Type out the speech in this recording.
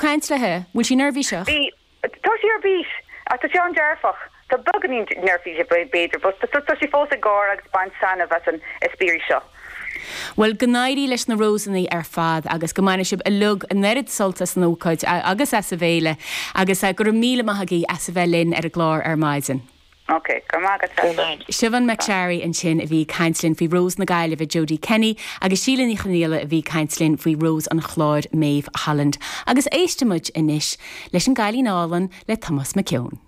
caint léi? Bhfuil sí neirbhíseach? Bhí. Tá sí ar bís. Ach tá sí an-dearfach. Tá beagáinín neirbhíseach b'fhéidir, but tá sí fós ag gáire agus baint taitneamh as an eispéireas seo. Bhuel, go n-éirí leis na Rósanna ar fad agus go mbaine sibh uilig an oiread sult as an ócáid agus as an bhféile agus go raibh míle maith agaibh as a bheith linn ar an gclár ar maidin. Ok, go raibh maith agat Treasa. Siobhán McSharry ansin a bhí ag caint linn faoi Rós na Gaillimhe, Jodie Kenny, agus Síle Ní Chonghaile a bhí ag caint linn faoi Rós an Chláir, Maeve Holland. Agus éistfidh muid anois leis an gCailín Álainn le Tomás Mac Eoin.